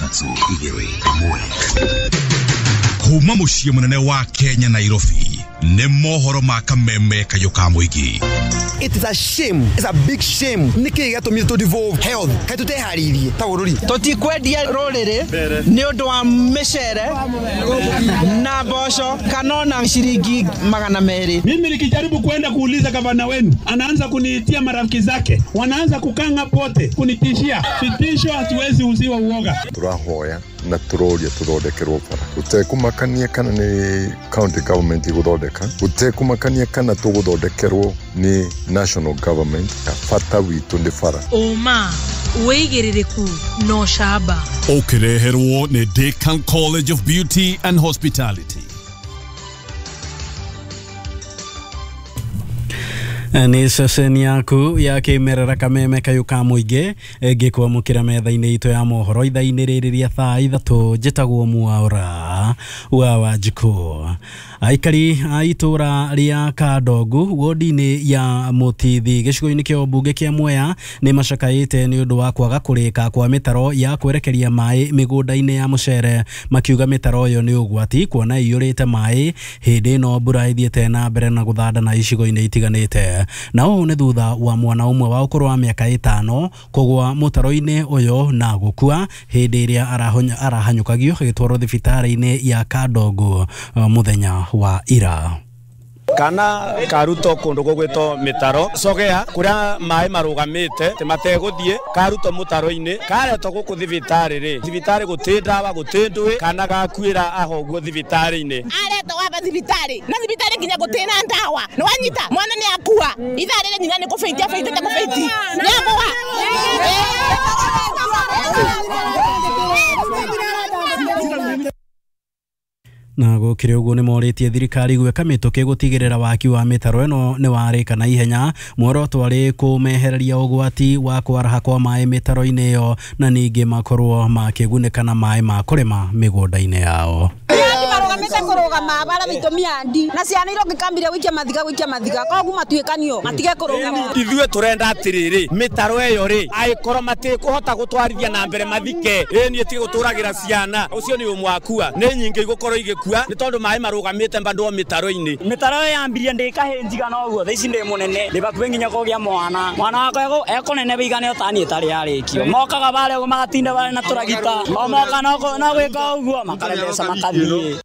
3 2 1. Kuma muciĩ mũnene wa Kenya Nairobi nĩ mohoro ma kameme kayũ ka mũingĩ. It is a shame. It's a big shame. Nĩkĩ gĩatũmire tũ devolve health? Kaĩ tũteharĩirie ta bũrũri? Tũtikwendia rũrĩrĩ nĩ ũndũ wa mĩcere na mboco kana ona ciringi 200. Mimi nikijaribu kwenda kuuliza gavana wenu, anaanza kuniitia marafiki zake, wanaanza kukanga pote kunitishia. Vitisho hatuwezi uziwa uoga. Turahoya na turoria tuthondekerwo bara gutekumakania kana ni county government iguthondeka, gutekumakania kana tuguthondekerwo ni national government. Bata witu ni bara. Uma wĩigĩrĩrĩku no camba ũkĩreherwo nĩ Decan College of Beauty and Hospitality. Nĩ ceceni yaku ya kĩmerera kameme kayũ ka mũingĩ ngĩkwamũkĩra metha-inĩ itũ ya mohoro ithaa-inĩ rĩrĩ rĩa thaa 3. Njĩtagwo Mwaura wa Wanjikũ. Aikari a itũra rĩa Kandongu wodi-inĩ ya Mũtithi gĩcigo-inĩ kĩa ũmbunge kĩa Mwea nĩ macakaĩte nĩ ũndũ wa kwaga kũrĩka kwa mĩtaro ya kwerekeria maĩ mĩgũnda-inĩ ya mũcere, makiuga mĩtaro ĩyo nĩ ũgwati kuona ĩiyũrĩte maĩ hĩndĩ ĩno mbura ĩthiĩte na mbere na gũthanda na icigo-inĩ itiganĩte. Na ũũ nĩ thutha wa mwana ũmwe wa ũkũrũ wa mĩaka 5 kũgwa mũtaro-inĩ ũyũ na gũkua hĩndĩ ĩrĩa arahanyũkagio agĩtwarwo thibitarĩ-inĩ ya Kandongu mũthenya wa ira. Kana karuto kundu gugwitwo mitaro sogea kuria mai marugamite ti mateguthie karuto mutaro-ini karetwo guku thibitari ri thibitari guti ndawa guti ndui kana gakuira aho guo thibitari-ini aretwo waba thibitari na thibitari nginya guti na ndawa ni wanyita mwana ni akua ithaa riri nyina ni kubeitia beitite kubeiti ni akua. Na gũkĩrĩ ũguo nĩ morĩtie thirikari gwĩka mĩtũkĩ gũtigĩrĩra waki wa mĩtaro ĩno nĩ warĩka na ihenya, muoroto arĩ kũmehereria ũgwati wa kwaraha kwa maĩ mĩtaro-inĩ ĩyo na ningĩ makorwo makĩgunĩka na maĩ ma kũrĩma mĩgũnda-inĩ yao. Marugamite kurugama bara bitumia ndi na ciana irongikambire gwikia mathiga gwikia mathiga koguo matuikanio matige kurugama. Ithuĩ turenda atiriri mitaro ĩyo rĩ aikorwo matikuhota gutwarithia na mbere mathike ĩ niĩ tige guturagira ciana ucio ni ũmwe akua nĩ nyingĩ igũkorwo igĩkua nĩ tondũ maĩ marugamite bado mitaro-inĩ. Mitaro ĩyo yambirie ndĩ kahĩnjiga no ũguo thaa ici ndĩ mũnene ndĩ bakuhĩ nginya kũgĩa mwana mwana wakwa ekũnene wĩigane o ta niĩ ĩtarĩ yarĩkio mokaga barĩa ũguo magatinda barĩ na tũragita o moka no gwĩka ũguo makarembeca makathiĩ.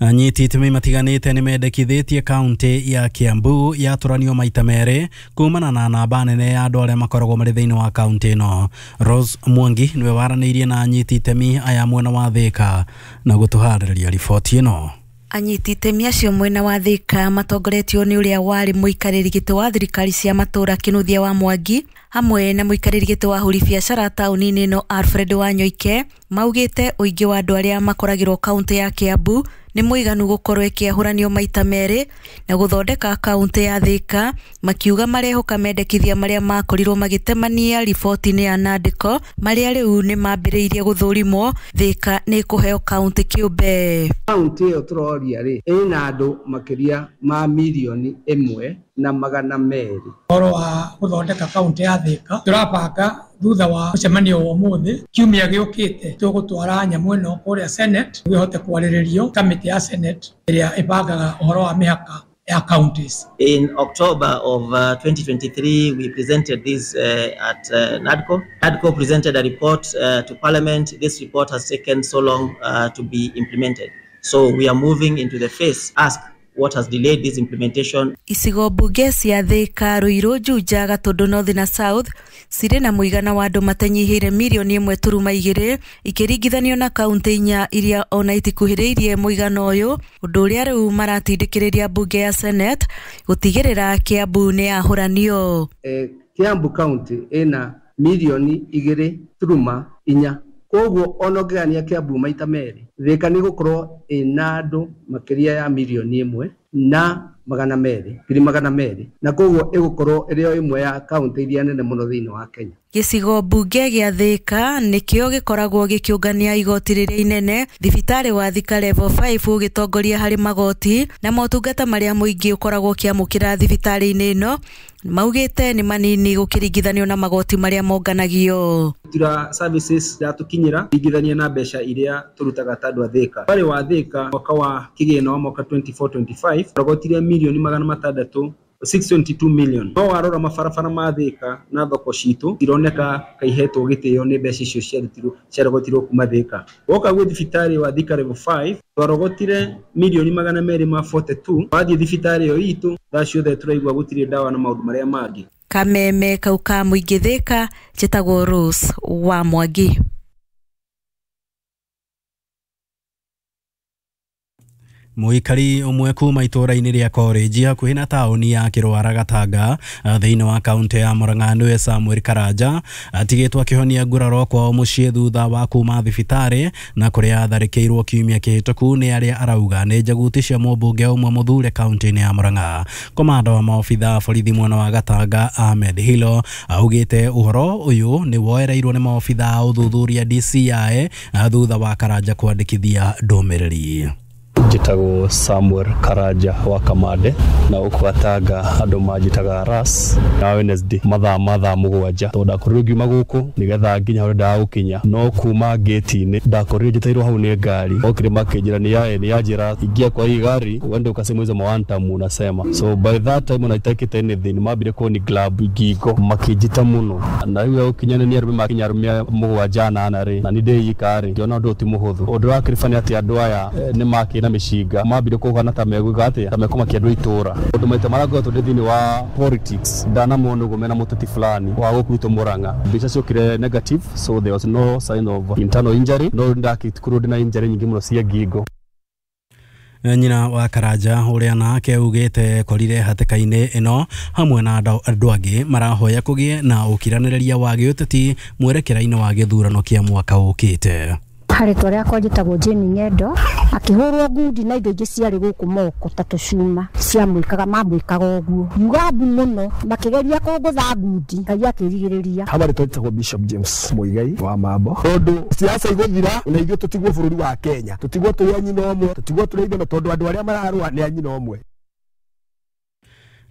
Anyiti itemi matiganĩte nĩ mendekithĩtie kaunti ya Kiambu yatũranio maita merĩ kumana na namba nene ya andũ arĩa makoragwo marĩ thĩinĩ wa kaunti ĩno. Rose Mwangi nĩwe waranĩirie na anyiti itemi aya mwena wa Thika na gũtũharĩrĩria riboti ĩno. Anyiti itemi acio mwena wa Thika matongoretio nĩ ũrĩa warĩ mũikarĩri gĩtĩ wa thirikari cia matũra Kĩnuthia wa Mwangi hamwe na mũikarĩri gĩtĩ wa ahũri biacara taũni-inĩ ĩno Alfred Wanyoike maugĩte ũingĩ wa andũ arĩa makoragĩrwo kaunti ya Kiambu nĩ mũiganu gũkorwo ĩkĩahũranio maita merĩ na gũthondeka kaunti ya Thika, makiuga marehoka mendekithia marĩa makorirwo magĩtemania riboti-inĩ ya Nandĩko marĩa rĩu nĩ mambĩrĩirie gũthũrimwo. Thika nĩ ĩkũheo kaunti kĩũmbe. Kaunti ĩyo tũroria rĩ ĩna andũ makĩria ma 1.2 milioni. Ũhoro wa gũthondeka kaunti ya Thika tũrabanga thutha wa mũcemanio wa ũmũthĩ kiumia gĩũkĩte tũgũtwara nyamũ ĩno kũrĩa Senate nĩguo ĩhote kwarĩrĩrio kamĩtĩ ya Senate ĩrĩa ĩbangaga ũhoro wa mĩhaka ya counties. In October of 2023, we presented this at NADCO. NADCO presented a report to Parliament. This report has taken so long to be implemented. So we are moving into the phase, ask what has delayed this implementation. Icigo mbunge cia Thika, Ruiru, Juja, Gatundu North na South cirĩ na mũigana wa andũ matanyihĩire 1.2 milioni ikĩringithanio na kaunti 4 iria ona itikuhĩrĩirie mũigana ũyũ, ũndũ ũrĩa rĩu maratindĩkĩrĩria mbunge ya Senate gũtigĩrĩra Kiambu nĩ yahũranio. Kiambu county ĩna 2.4 milioni, koguo ona ũngĩgania Kiambu maita merĩ Thika nĩ gũkorwo ĩna andũ makĩria ya 1 milioni. na 200,200 na koguo ĩgũkorwo ĩrĩ o ĩmwe ya kaunti iria nene mũno thĩinĩ wa Kenya. Gĩcigo mbunge gĩa Thĩka nĩkĩo gĩkoragwo gĩkĩũngania igoti rĩrĩa inene thibitarĩ wa Thika Level 5 ũgĩtongoria harĩ magoti na motungata marĩa mũingĩ ũkoragwo ũkĩamũkĩra thibitarĩ-inĩ ĩno maugĩte nĩ manini gũkĩringithanio na magoti marĩa monganagio. Tura services iratukinyira ringithania na mbeca iria turutaga ta andu a Thika. Wari wa Thika mwaka wa kĩgĩna wa mwaka 24-25 rogotire mirioni 600 622 million. No warora mabarabara ma Thika na thoko citu ironeka kaihetwo gĩtĩo nĩ mbeca icio ciarutirwo ciarogotirwo kuma Thika. Woka gwĩ thibitarĩ wa Thika Level 5 twarogotire mirioni 242. Wathiĩ thibitarĩ ĩyo itũ thaa ciothe tũraigua gũtirĩ ndawa na maũndũ marĩa mangĩ. Kameme kau ka mũingĩ Thika, njĩtagwo Rose wa Mwangi. Mũikari ũmwe kuma itũũra-inĩ rĩa College hakuhĩ na taũni ya Kĩrwara Gatanga thĩinĩ wa kaunti ya Murang'a nĩwe Samuel Karanja atigĩtwo akĩhonia nguraro kwao mũciĩ thutha wa kuma thibitarĩ na kũrĩa atharĩkĩirwo kiumia kĩhĩtũku nĩ arĩa arauga nĩ njaguti cia mũmbunge ũmwe mũthure kaunti-inĩ ya Murang'a. Komanda wa maobitha a borithi mwena wa Gatanga Ahmed Hilo augĩte ũhoro ũyũ nĩ woereirwo nĩ maobitha a ũthuthuria DCI thutha wa Karanja kwandĩkithia ndũmĩrĩri. Njĩtagwo Samuel Karanja wa Kamande na gũkũ Gatanga andũ manjĩtaga Ras na Wednesday mathaa 7 tondũ ndakorirwo ngiuma gũkũ nĩgetha nginya harĩa ndendaga gũkinya no kuma gate-inĩ ndakorirwo njĩtĩirwo hau nĩ ngari okire makĩnjĩra nĩ yanjĩra ingia kwa hii gari uende ukasema hizo mawantamu unasema. So by that time unaitakite anything mambire kũni glab ngingo makĩnjĩta mũno na rĩu gũkinya nĩ arũme makinya arũme 7 8 rĩ na nĩ ndĩika rĩ ngĩona ũndũ ti mũhũthũ. Ũndũ wa kĩrĩba nĩ atĩ andũ aya nĩ makĩna mĩcinga mambire kũhana ta megwĩka atĩa ta mekũmakia andũ itũra ũndũ maita marĩa ngoretwo ndĩ thĩinĩ wa politics ndanamona ũguo mena mũteti fulani wa gũkũ gwitũ Murang'a mbica ciokire negative, so there was no sign of internal injury no ndakĩkorwo ndĩna injury nyingĩ mũno cia ngingo. Nyina wa Karanja ũrĩa nake augĩte korire hatĩka-inĩ ĩno hamwe na andũ angĩ marahoya kũgĩe na ũkiranĩrĩria wa gĩũteti mwerekera-inĩ wa gĩthurano kĩa mwaka ũkĩte. Harĩtwa rĩakwa njĩtagwo Jane Ng'endo akĩhũrwo ngundi na indo ingĩ ciarĩ gũkũ moko ta tũcuma ciamwĩkaga mamwĩkaga ũguo yuga mbu mũno makĩgeria kũngũtha ngundi Ngai akĩrigĩrĩria. Habari twĩtagwo Bishop James Muigai wa Mambo tondũ siasa igũthira na ithuĩ tũtigwo bũrũri wa Kenya tũtigwo tũrĩ a nyina ũmwe tũtigwo tũrĩ ithe tondũ andũ arĩa mararũa nĩ a nyina ũmwe.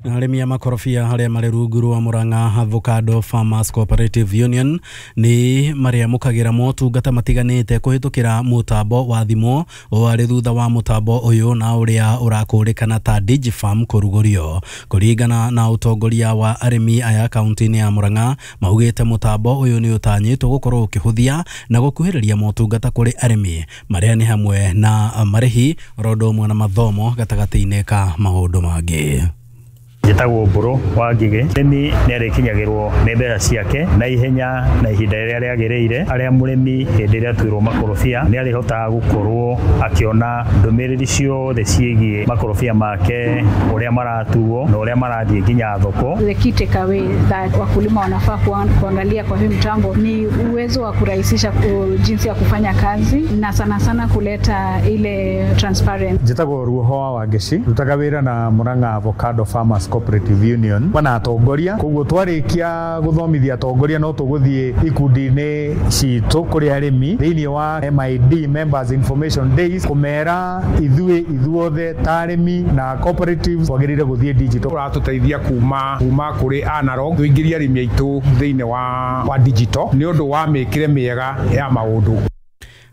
Arĩmi a makorobia arĩa marĩ rungu rwa Murang'a Avocado Farmers Cooperative Union nĩ marĩamũkagĩra motungata matiganĩte kũhĩtũkĩra mũtambo wa thimũ warĩ thutha wa mũtambo ũyũ na ũrĩa ũrakũrĩkana ta Digifarm kũrugũrio. Kũringana na ũtongoria wa arĩmi aya kaunti-inĩ ya Murang'a maugĩte mũtambo ũyũ nĩ ũtanyĩtwo gũkorwo ũkĩhũthia na gũkuhĩrĩria motungata kũrĩ arĩmi marĩa nĩ hamwe na marĩhi oro ũndũ ũmwe na mathomo gatagatĩ-inĩ ka maũndũ mangĩ. Njĩtagwo Mbũrũ wa Ngigĩ. Mũrĩmi nĩ arĩkinyagĩrwo nĩ mbeca ciake na ihenya na ihinda rĩrĩa rĩagĩrĩire. Harĩa mũrĩmi hĩndĩ ĩrĩa atuĩrwo makorobia nĩ arĩhotaga gũkorwo akĩona ndũmĩrĩri ciothe ciĩgiĩ makorobia make, ũrĩa maratuo na ũrĩa marathiĩ nginya thoko. The key takeaway that wakulima wanafaa kuangalia kwa hii mtambo ni uwezo wa kurahisisha jinsi ya kufanya kazi na sana sana kuleta ile transparent. Njĩtagwo Ruoho wa Wangeci, rutaga wĩra na Murang'a Avocado Farmers Cooperative Union bana atongoria koguo twarikia guthomithia atongoria no tuguthie ikundi-inĩ citũ kũrĩ arĩmi thĩinĩ wa MID Members Information Days kũmera ithuĩ ithuothe ta arĩmi na cooperatives twagĩrĩire gũthiĩ digital. Ũratũteithia kuma kũrĩ analog tũingĩrie arĩmi aitũ thĩinĩ wa digital nĩ ũndũ wa mĩkĩre mĩega ya maũndũ.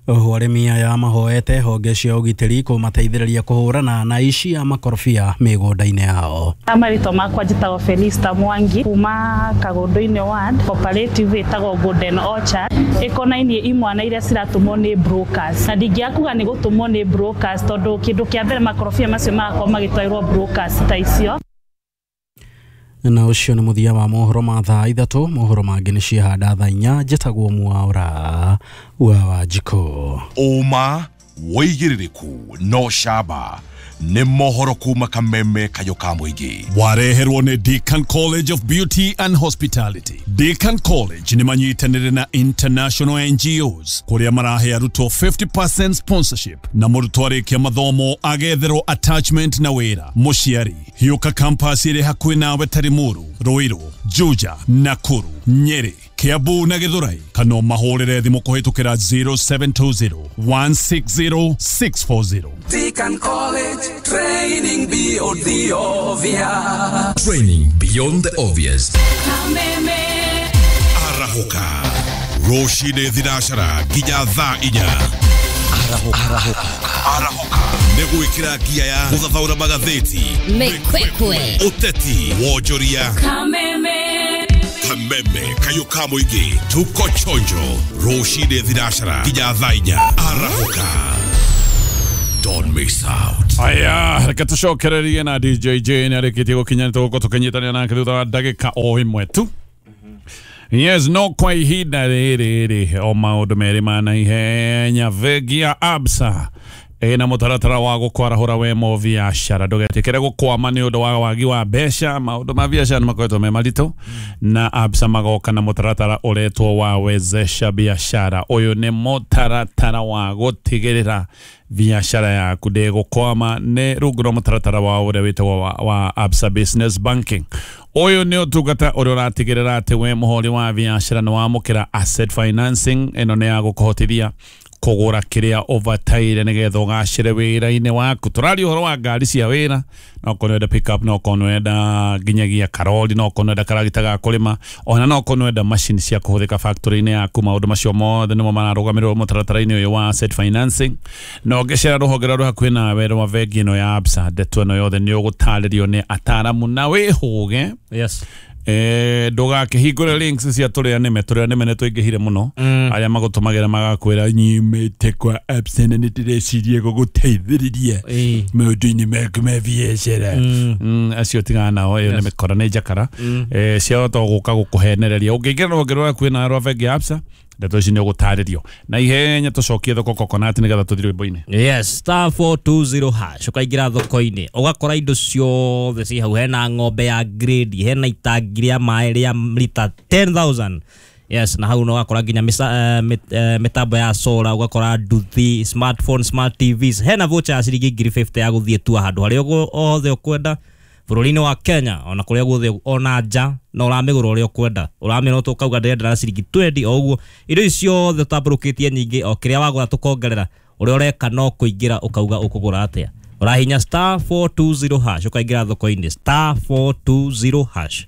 Oho arĩmi aya mahoete honge cia ũgitĩri kũmateithĩrĩria kũhũrana na aici a makorobia mĩgũnda-inĩ yao. Marĩtwa makwa njĩtagwo Felista Mwangi kuma Kagundu-inĩ ward, cooperative ĩtagwo Golden Orchard ĩkonainie imwana iria ciratũmwo nĩ brokers, na ndingĩakuga nĩ gũtũmwo nĩ brokers tondũ kĩndũ kĩa mbere makorobia macio magakorwo magĩtwarĩrwo brokers ta icio. Na ũcio nĩ mũthia wa mohoro ma thaa 3. Mohoro mangĩ nĩ ciahanda thaa 4. Njĩtagwo Mwaura wa Wanjikũ. Ũma Wĩigĩrĩrĩku no camba nĩ mohoro kuma kameme kayũ ka mũingĩ. Wareherwo nĩ Deakin College of Beauty and Hospitality. Deakin College nĩ manyitanĩire na international NGOs kũrĩa marahe arutwo 50% sponsorship na mũrutwo arĩkia mathomo agetherwo attachment na wĩra. Mũciari hiũka campus ĩrĩ hakuhĩ nawe ta Limuru, Ruiru, Juja, Nakuru, Nyeri, Kiambu na Githurai, kana ũmahũrĩre thimũ kũhĩtũkĩra 0720 160 640. Deakin College, training beyond the obvious. Training beyond the obvious. Arahũka rũcinĩ thinacara nginya thaa 4. Arahũka nĩ gwĩkĩra ngia ya gũthathaũra magathĩti, Mĩkwekwe, ũteti, wonjoria, kameme kayũ ka mũingĩ. Tuko chonjo rũcinĩ thinacara nginya thaa 4. Arahũka, don't miss out. Aya, reke tũcokererie na DJ Jane arĩkĩtie gũkinya, nĩtũgũkorwo tũkĩnyitanĩra nake thutha wa ndagĩka o ĩmwe tu. Yes, no kwa ihinda rĩrĩ rĩ o maũndũ merĩ ma naihenya. Bengi ya Absa ĩna mũtaratara wa gũkwarahũra we mo biacara, ndũgetĩkĩre gũkwama nĩ ũndũ wa wagi wa mbeca. Maũndũ ma biacara nĩ makoretwo me maritũ, na Absa magoka na mũtaratara ũretwo wa wezesha biashara. Ũyũ nĩ mũtaratara wa gũtigĩrĩra biacara yaku ndĩgũkwama, nĩ rungu rwa mũtaratara wa ũrĩa wĩtagwo wa Absa Business Banking. Ũyũ nĩ ũtungata ũrĩa ũratigĩrĩra atĩ we mũhũri wa biacara nĩ wamũkĩra asset financing. Ĩno nĩ ya gũkũhotithia kũgũra kĩrĩa ũbataire nĩgetha ũgacĩre wĩra-inĩ waku. Tũraria ũhoro wa ngari cia wĩra, no okorwo nĩwenda pick up, no okorwo nĩwenda nginyagia karori, no okorwo nĩwenda karagita ga kũrĩma, ona no okorwo nĩwenda macini cia kũhũthĩka factory-inĩ yaku. Maũndũ macio mothe nĩmo mararũgamĩrĩrwo mũtaratara-inĩ ũyũ wa asset financing. Na ũngĩcera rũhonge rũrĩa rwĩ hakuhĩ nawe rwa bengi ĩno ya Absa, ndeto ĩno yothe nĩ ũgũtarĩrio nĩ ataramu na wĩhũge. Yes. Ndũgakĩhingũre links cia tũrĩa nĩme, tũrĩa nĩme nĩ tũingĩhire mũno, arĩa magũtũmagĩra magakwĩra nyimĩte kwa Absa na nĩndĩreciria gũgũteithĩrĩria maũndũ-inĩ maku ma biacara. Acio tigana nao, ĩyo nĩ mĩkora, nĩ njakara ciahota gũka gũkũhenereria. Ũngĩingĩra rũhonge rũrĩa hakuhĩ nawe rwa bengi ya Absa, ndeto ici nĩ ũgũtarĩrio na ihenya. Tũcokie thoko coconut nĩgetha tũthiĩ rwĩmbo-inĩ. Yes, *420# ũkaingĩra thoko-inĩ ũgakora indo ciothe ciĩ hau. Hena ng'ombe ya grade, hena itangi rĩa maĩ rĩa lita 10,000. Yes, na hau no ũgakora nginya mĩtambo ya solar, ũgakora nduthi, smartphone, smart TVs. Hena voucher ya ciringi 50,000 ya gũthiĩ tua handũ harĩa hothe ũkwenda bũrũri-inĩ wa Kenya, ona kũrĩa guothe, ona nja, na ũramĩgũra ũrĩa ũkwenda. Ũramĩona ũkauga ndĩrenda na ciringi 20 o ũguo. Indo ici ciothe ũtambũrũkĩtie nyingĩ, o kĩrĩa wagũra tũkongerera. Ũrĩa ũreka no kũingĩra ũkauga ũkũgũra atĩa. Ũrahinya *420# ũkaingĩra thoko-inĩ, *420#.